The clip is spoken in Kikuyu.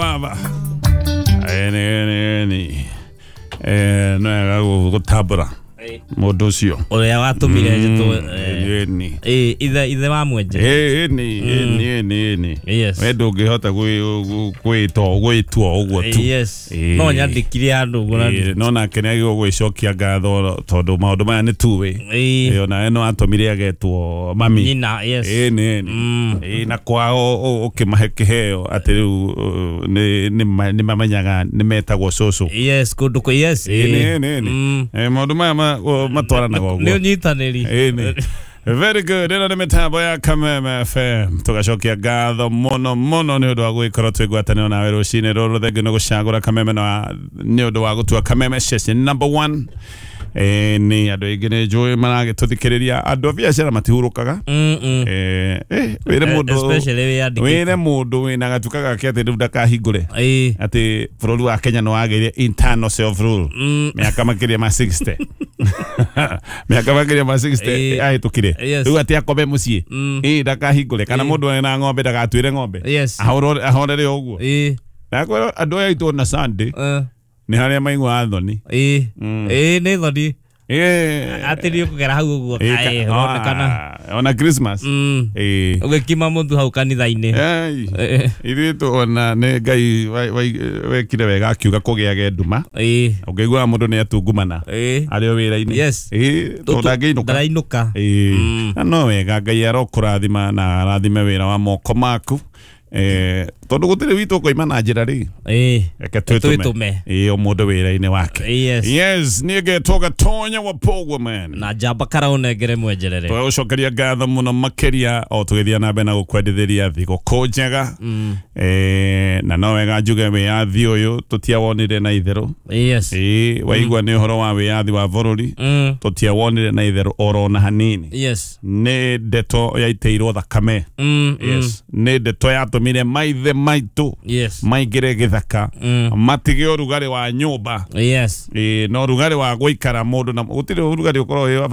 Baba eni eni eni no wega gũtambũra mũndũ ũcio Ũrĩa watũmire njĩtwo eni. Ithe wa mwenje. Eni eni eni eni. We ndũngĩhota gwĩtwo gwĩtwo ũguo tu. No nyandĩkire handũ ũguo na No nake nĩ agĩrĩirwo gwĩcokia ngatho tondũ maũndũ maya nĩ tuĩ. Onawe no atũmire agetwo mami. Nyina, yes. Ĩĩ nĩ. Ĩĩ, na kwao ũkĩmahe kĩheo atĩ rĩu nĩ mamenyaga nĩ metagwo cũcũ. Yes, kũndũ kũ, yes. Ĩĩ nĩ nĩ nĩ. Maũndũ maya matwaranaga Nĩ ũguo. ũnyitanĩri. Ĩĩ nĩ. Very good. Ĩno nĩ mĩtambo ya Kameme FM. Tũgacokia ngatho mũno mũno nĩ ũndũ wa gũgĩkorwo twĩ ngwatanĩro nawe rũcinĩ rũrũ. Thengiũ nĩ gũcagũra Kameme na nĩ ũndũ wa gũtua Kameme station number 1. Nĩ andũ aingĩ nĩ njũĩ maragĩtũthikĩrĩria, andũ a biacara matihurũkaga. Wĩre mũndũ Especially wĩyandĩkĩte. Wĩre mũndũ wĩna gatuka gake atĩ rĩu ndakahingũre atĩ bũrũri wa Kenya nĩ wagĩire internal self rule mĩaka makĩria ma 60, mĩaka makĩria ma 60 ahĩtũkire. Rĩu atĩ akome mũciĩ, ndakahingũre, kana mũndũ ena ng'ombe ndagatuĩre ng'ombe, ahorere o ũguo. Nakwĩra andũ aya aitũ na Sunday nĩ harĩa maiguaga thoni. Ĩĩ, nĩ thoni atĩ nĩ ũkũgera hau ũguo kaĩ ũronekana. Ona Christmas. Ũgĩkima mũtu hau kanitha-inĩ. Ei, ithuĩ tuona nĩ Ngai wekire wega akiuga kũgĩage nduma. Ũngĩiguaga mũndũ nĩ atungumana arĩ o wĩra-inĩ. Tondũ ndangĩinũka. Ndarainũka. Na no wega, Ngai arokũrathima na arathime wĩra wa moko maku, tondũ gũtirĩ witũ ũkoima na njĩra rĩ. Reke twĩtũme. Twĩtũme. O mũndũ wĩra-inĩ wake. Yes, niĩ ngetwo Gatonya wa Powerman. Na njamba karaũnengere mwenjerere. Tũgagũcokeria ngatho mũno makĩria o tũgĩthiĩ na mbere na gũkwendithĩria thigũkũ njega. Na no wega njuge wĩyathi ũyũ tũtiawonire na itherũ. Waigua nĩ ũhoro wa wĩyathi wa bũrũri, tũtiawonire na itherũ oro na hanini. Nĩ ndeto yaitĩirwo thakame. Yes, nĩ ndeto yatũmire maithe maitũ maingĩre gĩthaka, matige ũrugarĩ wa nyũmba. No ũrugarĩ wa gũikara mũndũ na gũtirĩ ũrugarĩ ũkoragwo wĩ wa.